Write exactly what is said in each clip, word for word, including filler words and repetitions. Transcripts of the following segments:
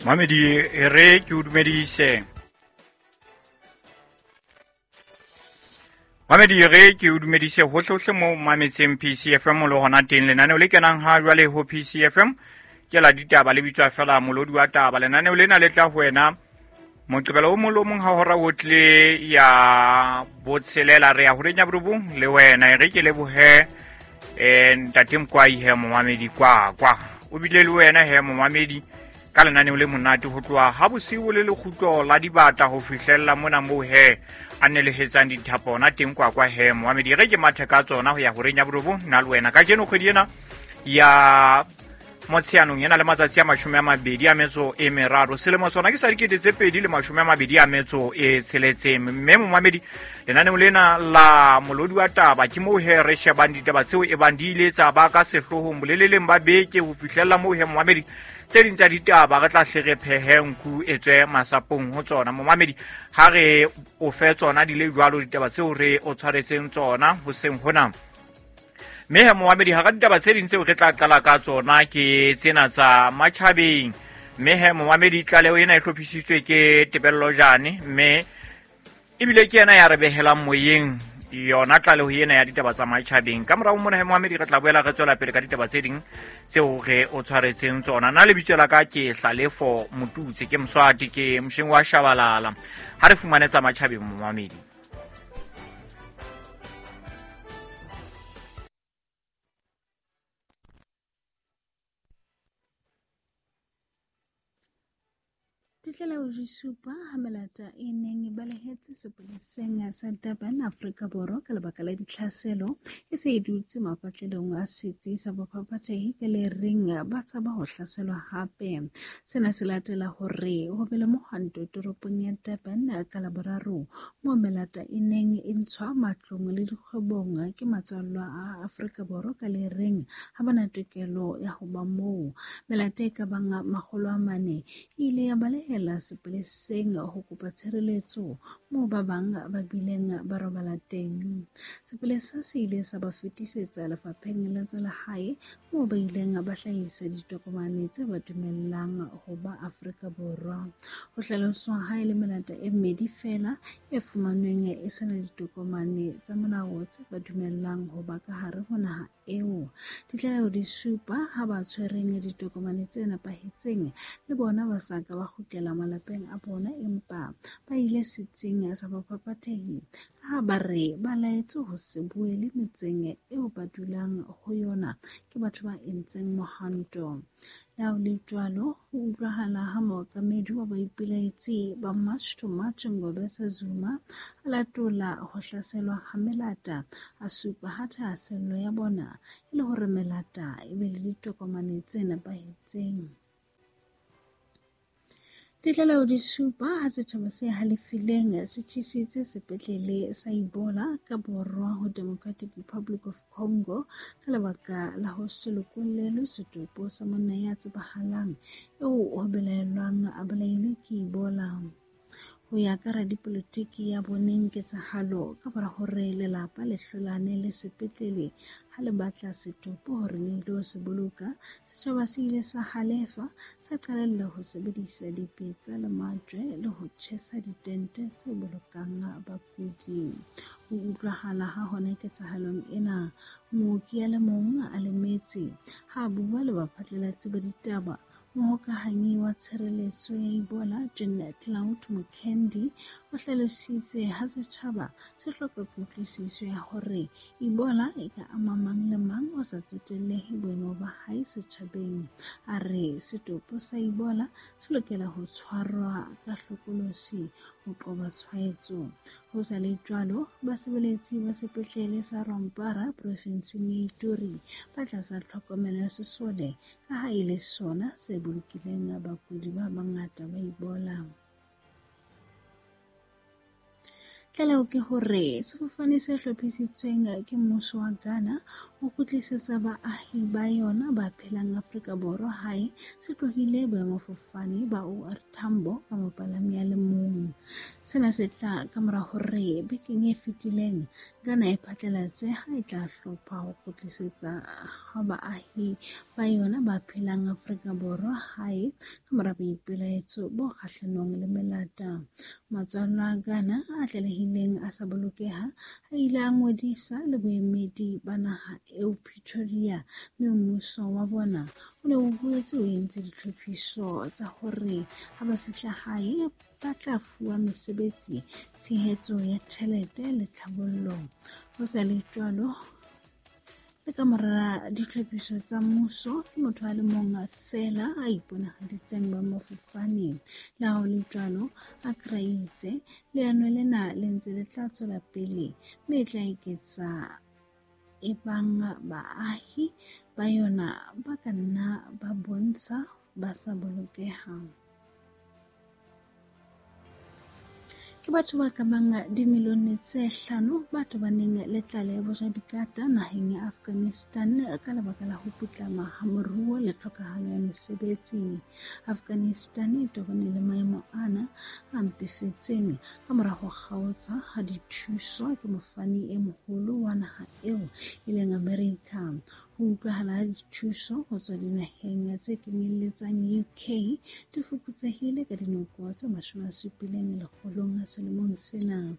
Mamedi e re ke o dumedise. Mamedi e re ke o dumedise hohle-hohle mo mametseng P C F M le hona teng lenaneo le kenang ha jwale ho P C F M ke la ditaba le bitswa fela molodi wa taba. Lenaneo lena le tla ho wena Moqebelo o mong le o mong ha hora ho tle ya botshelela re ya horeng ya borobong le wena. E re ke lebohe eh ntate Mkwai he momamedi kwa kwa o bile le wena he momamedi ka lenaneo le monate ho tloha ha bosiu le lekgutlo la dibata ho fihlella mona moo he a nelehetsang dithapo ona teng kwa kwa he momamedi. Re ke mathe ka tsona ho ya horeng ya borobong nna le wena kajeno kgwedi ena ya Motsheanong ena le matsatsi a mashome a mabedi a metso e meraro selemo sona ke sa dikete tse pedi le mashome a mabedi a metso e tsheletseng. Mme momamedi lenaneo lena la molodi wa taba ke moo he re shebang ditaba tseo e bang di ile tsa ba ka sehloohong boleleleng ba beke ho fihlella moo he momamedi tse ding tsa ditaba re tla hle re phehe nku e tswe masapong ho tsona. Momamedi ha re o fe tsona di le jwalo ditaba tseo re o tshwaretseng tsona hoseng hona. Mme he momamedi hara ditaba tse ding tseo re tla qala ka tsona ke tsena tsa matjhabeng. Mme he momamedi tlaleho ena e hlophisitswe ke Tebello Jane, mme ebile ke yena ya re behelang moyeng yona tlaleho ena ya ditaba tsa matjhabeng. Ka morao mona he momamedi re tla boela re tswela pele ka ditaba tse ding tseo re o tshwaretseng tsona. Nna lebitso la ka ke Hlalefo Motutse, ke Mswati, ke mosheng wa Shabalala. Ha re fumane tsa matjhabeng momamedi. Ditlaleho di supa ha melata e neng e balehetse sepoleseng sa Durban, Afrika Borwa ka lebaka la ditlhaselo e se e dutse mapatlelong a setsi sa bophaphathehi ka le reng ba tshaba ho hlaselwa hape. Sena se latela hore ho be le mohwanto toropong ya Durban ka Laboraro moo melata e neng e ntshwa matlong le dikgwebong ke matswallwa a Afrika Borwa ka le reng ha ba na tokelo ya ho ba moo. Melata e ka bang makgolo a mane e ile ya baleha la sepoleseng ho kopa tshireletso moo ba bang ba bileng ba robala teng. Sepolesa se ile sa ba fetisetsa lefapheng la tsa lehae moo ba ileng ba hlahisa ditokomane tse ba dumellang ho ba Afrika Borwa. Ho hlaloswa ha e le melata e mmedi feela e fumanweng e sena ditokomane tsa molao tse ba dumellang ho ba ka hare ho naha eo. Ditlaleho di supa ha ba tshwereng ditokomane tse nepahetseng le bona ba sa ka ba kgutlela malapeng a bona empa ba ile setsing sa baphaphathehi ka ha ba re ba laetswe ho se boele metseng eo ba dulang ho yona ke batho ba entseng mohwanto. Le ha ho le jwalo, ho utlwahala ha mookamedi wa baipelaetsi ba March to March Ngobese Zuma a latola ho hlaselwa ha melata, a supa ha thahasello ya bona e le hore melata e be le ditokomane tse nepahetseng. Ditlaleho di supa ha setjhaba se halefileng se tjhesitse sepetlele sa Ebola ka borwa ho Democratic Republic of Congo ka lebaka la ho se lokollelwe setopo sa monna ya tsebahalang eo ho belaellwang a bolailwe ke Ebola. Ho ya ka radipolotiki ya boneng ketsahalo ka mora hore lelapa le hlolane le sepetlele ha le batla setopo hore le ilo se boloka, setjhaba se ile sa halefa sa qalella ho sebedisa dipetsa le majwe le ho tjhesa ditente tse bolokang bakudi. Ho utlwahala ha hona ketsahalong ena, mooki a le mong a lemetse ha a bua le baphatlalatsi ba ditaba. Mohokahanyi wa tshireletso ya Ebola Jean Claude Mukendi o hlalositse ha setjhaba se hloka kutlwisiso ya hore Ebola e ka ama mang le mang ho sa tsotellehe boemo ba hae setjhabeng. A re setopo sa Ebola se lokela ho tshwarwa ka hlokolosi ho qoba tshwaetso. Ho sa le jwalo, basebeletsi ba sepetlele sa Rwampara profinseng ya Ituri ba tlasa tlhokomelo ya sesole ka ha e le sona se bolokileng bakudi ba bangata ba Ebola. Tlaleho ke hore sefofane se hlophisitsweng ke mmuso wa Ghana ho kgutlisetsa baahi ba yona ba phelang Afrika Borwa hae se tlohile boemafofane ba O R Tambo ka mopalami a le mong. Sena se tla ka mora hore bekeng e fetileng Ghana e phatlalatse ha e tla hlopha ho kgutlisetsa ha baahi ba yona ba phelang Afrika Borwa hae ka mora boipelaetso bo kgahlanong le melata. Matswallwa a Ghana a tlalehileng a sa bolokeha a ile a ngodisa le boemedi ba naha eo Pretoria, mme mmuso wa bona o ne o boetse o entse ditlhophiso tsa hore ha ba fihla hae ba tla fuwa mesebetsi, tshehetso ya tjhelete le tlhabollo. Ho sa le jwalo, le ka mora ditlhophiso tsa mmuso, ke motho a le mong feela a iponahaditseng boemafofaneng. Le ha ho le jwalo, Accra e itse leano lena le ntse le tla tswela pele mme e tla eketsa ebang baahi ba yona ba ka nna ba bontsha ba sa bolokeha. Ke batho ba ka bang dimilione tse hlano ba tobaneng le tlala ya bojadikata naheng ya Afghanistan ka lebaka la ho putlama ha moruo le tlhokahalo ya mesebetsi. Afghanistan e tobane le maemo ana a mpefetseng ka mora ho kgaotswa ha dithuso ke mofani e moholo wa naha eo e leng Amerika. Ho utlwahala ha dithuso ho tswa dinaheng tse kenyelletsang U K di fokotsehile ka dinoko tse mashome a supileng lekgolong selemong sena.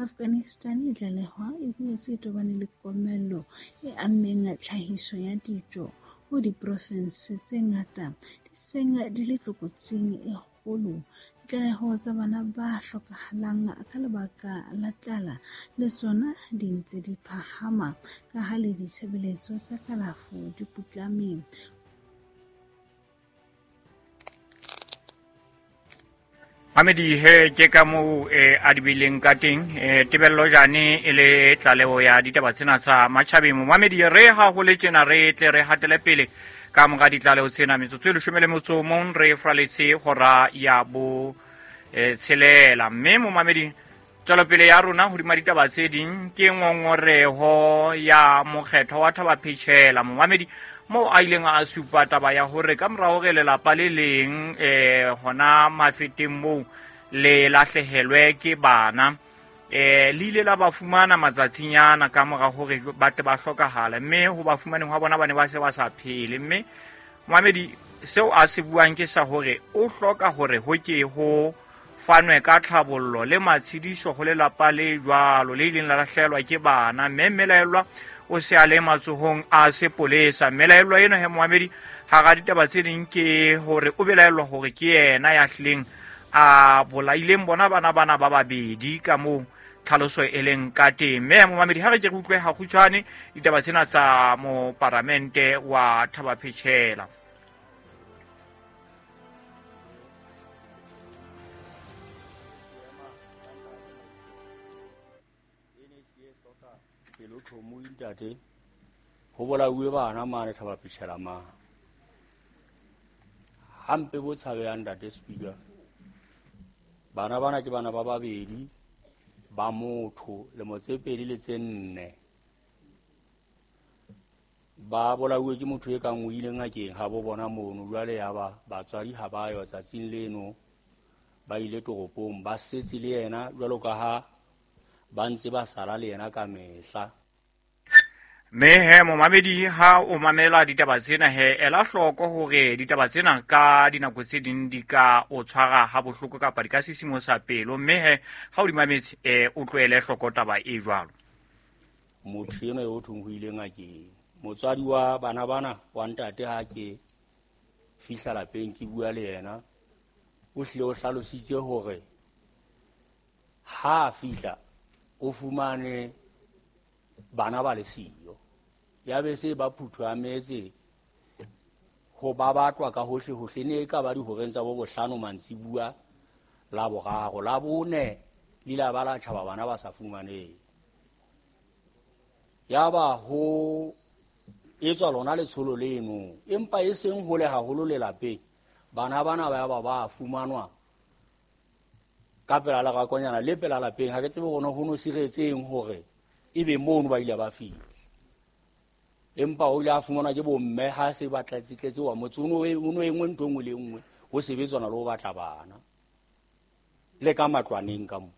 Afghanistan e tlalehwa e boetse e tobane le komello e ammeng tlhahiso ya dijo ho diprofense tse ngata di seng di le tlokotsing e kgolo. Ditlaleho tsa bana ba hlokahalang ka lebaka la tlala le tsona di ntse di phahama ka ha le ditshebeletso tsa kalafo di putlame. Mamedi he ke ka moo eh, a di bileng ka teng eh, Tebello Jane e le tlaleho ya ditaba tsena tsa matjhabeng. Mamedi re ha ho le tjena re tle re hatele pele ka mora ditlaleho tsena metsotso e leshome le motso o mong re fraletse hora ya bo eh, tshelela. Mme momamedi tswelopele ya rona hodima ditaba tse ding ke ngongoreho ya mokgetho wa Thaba-Phechela. Momamedi moo a ileng a supa taba ya hore ka mora hore lelapa le leng eh hona mafeteng moo le lahlehelwe ke bana eh le ile la ba fumana matsatsinyana ka mora hore ba tle ba hlokahala, mme ho ba fumaneng hwa bona ba ne ba se ba sa phele. Mme momamedi seo a se buang ke sa hore o hloka hore ho ke ho fanwe ka tlhabollo le matshediso ho lelapa le jwalo le ileng la lahlehelwa ke bana, mme mmelaellwa o se a le matsohong a sepolesa. Mmelaellwa eno he momamedi hara ditaba tse ding ke hore o belaellwa hore ke yena ya hlileng a bolaileng bona bana bana ba babedi ka moo tlhaloso e leng ka teng. Mme momamedi ha re ke re utlwe hakgutshwane ditaba tsena tsa moparamente wa Thaba-Phechela. Ntate ho bolauwe bana mane Thaba-Phechela mane hampe bo tshabehang ntate Speaker. Bana bana ke bana ba babedi ba motho lemo tse pedi le tse nne ba bolauwe ke motho e kang o ile ngakeng ha bo bona mono. Jwale ya ba batswadi ha ba yo tsatsing leno ba ile toropong ba setse le yena jwalo ka ha ba ntse ba sala le yena ka mehla. Mme he momamedi ha o mamela ditaba tsena he ela hloko hore ditaba tsena ka dinako tse ding di ka o tshwara ha bohloko kapa di ka sisimosa pelo, mme he ha o di mametse eh o tlohele hloko taba e jwalo. Motho enwa eo thong ho ile ngakeng motswadi wa bana bana wa ntate ha ke fihla lapeng ke bua le yena o hlile o hlalositse hore ha a fihla o fumane bana ba le siyo ya be se ba phuthwa metse ho ba batlwa ka hohle hohle ne ka ba dihoreng tsa bo bohlano mantsibua la boraro la bone le la ba la tjhaba bana ba sa fumaneng. Ya ba ho etswa lona letsholo leno empa e seng hole haholo lelapeng bana bana ba ba ba fumanwa Ka pela lerakonyana le pela lapeng, ha ke tsebe hore ho no siretseng hore ebe mono ba ile ba fihla. Empa o ile a fumanwa ke bomme ha se ba tlatsetletse wa motse o no o no engwe ntho engwe le engwe ho sebetswana le ho batla bana. Le ka matlwaneng ka mo.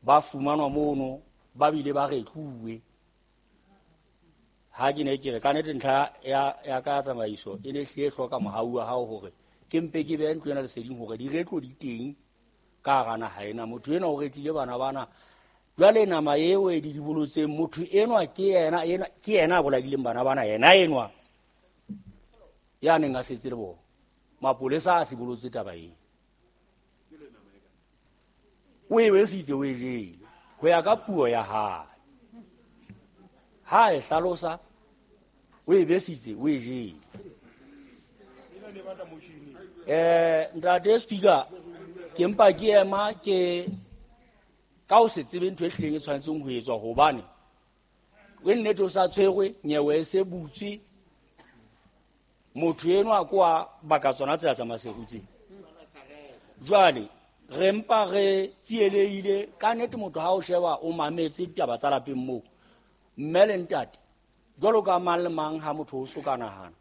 Ba fumanwa mono ba bile ba retluwe. Ha ke ne ke re ka nnete ntlha ya ya ka tsamaiso e ne hlile hloka mohau wa hao hore ke mpe ke behe ntlo ena leseding hore diretlo di teng ka hara naha ena. Motho enwa o retlile bana bana. Jwale nama eo e di dibolotseng motho enwa ke yena, ena ke yena a bolaileng bana bana, yena enwa ya neng a setse le bona. Mapolesa a sibolotse taba eo. O e besitse o e jele ho ya ka puo ya hae. Ha e hlalosa o e besitse o e jele. Eh, ntate Speaker, ke mpa ke ema ke ka o se tsebe ntho e hlileng e tshwanetseng ho etswa hobane o nnete o sa tshwerwe nyewe e se butswe. Motho enwa ko a baka tsona tsela tsa Maseru tse. Jwale re mpa re tsielehile ka nnete. Motho ha o sheba o mametse ditaba tsa lapeng moo, mme le ntate jwalo ka mang le mang ha motho o so ka nahana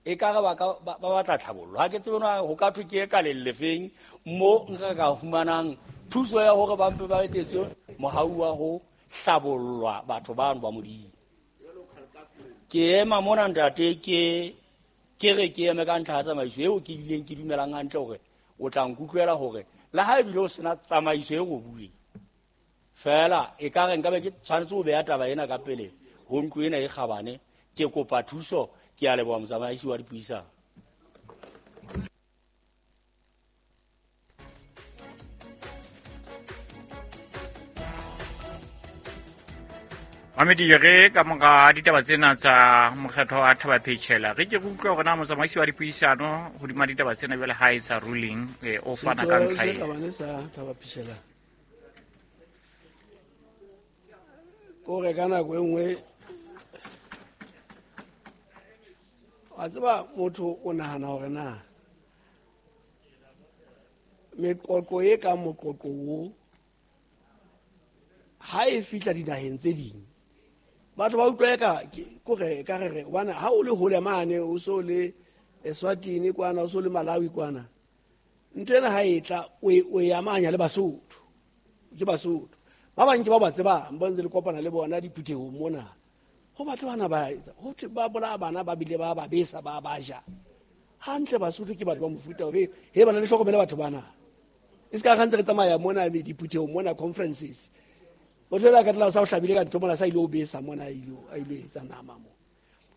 e ka re ba ka ba batla tlhabollo. Ha ke tsebe na ho ka thwe ke e ka lelefeng mo nka ka fumanang thuso ya hore ba mpe ba etsetswe mohau wa ho hlabollwa batho bano ba Modimo. Ke ema mona ntate ke ke re ke eme ka ntlha ya tsamaiso eo ke bileng ke dumelang hantle hore o tla nkutlwela hore le ha ebile o sena tsamaiso e robuweng fela e ka re nka be ke tshwanetse ho beha taba ena ka pele ho ntlo ena e kgabane. Ke kopa thuso. Ke a leboha motsamaisi wa dipuisano. Mamedi re ka mora ditaba tsena tsa mokgatlo wa Thaba Phechela re ke re utlwe hore na motsamaisi wa dipuisano hodima ditaba tsena jwale ha e tsa ruling eh, o fana ka ntlha e. e. Setho sa Thaba Phechela kore ka nako e nngwe wa tseba motho o nahana hore na meqoqo e kang moqoqo o ha e fihla dinaheng tse ding batho ba utlwa eka kore ka re re hobane ha o le hole mane o so le Eswatini kwana o so le Malawi kwana ntho ena ha e tla o e amanya le Basotho ke Basotho ba bang ke ba ba tsebang ba ntse le kopana le bona diphuthehong mona ho batho bana ba etsa ho thwe ba bolaya bana ba bile ba ba besa ba ba ja hantle. Basotho ke batho ba mofuta o he he bana le hlokomele batho bana e se ka gantse re tsamaya mona diphuthehong mona conferences motho ela ka tla sa o hlabile ka ntho mona sa ile o besa mona a ile a ile etsa nama mo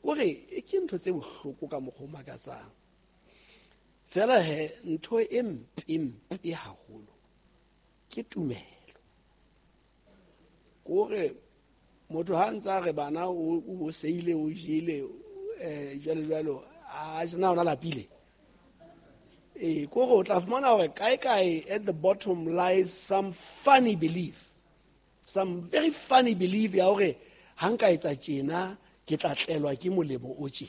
kore e ke ntho tse bohloko ka mokgwa o makatsang fela he ntho e mpe mpe haholo ke tumelo kore motho ha ntse a re bana o o seile o jele eh jwalo jwalo a na ona lapile eh kore o tla fumana hore kae kae at the bottom lies some funny belief, some very funny belief ya hore ha nka etsa tjena ke tla tlelwa ke molemo o tje.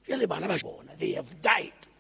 Jwale bana ba bona they have died.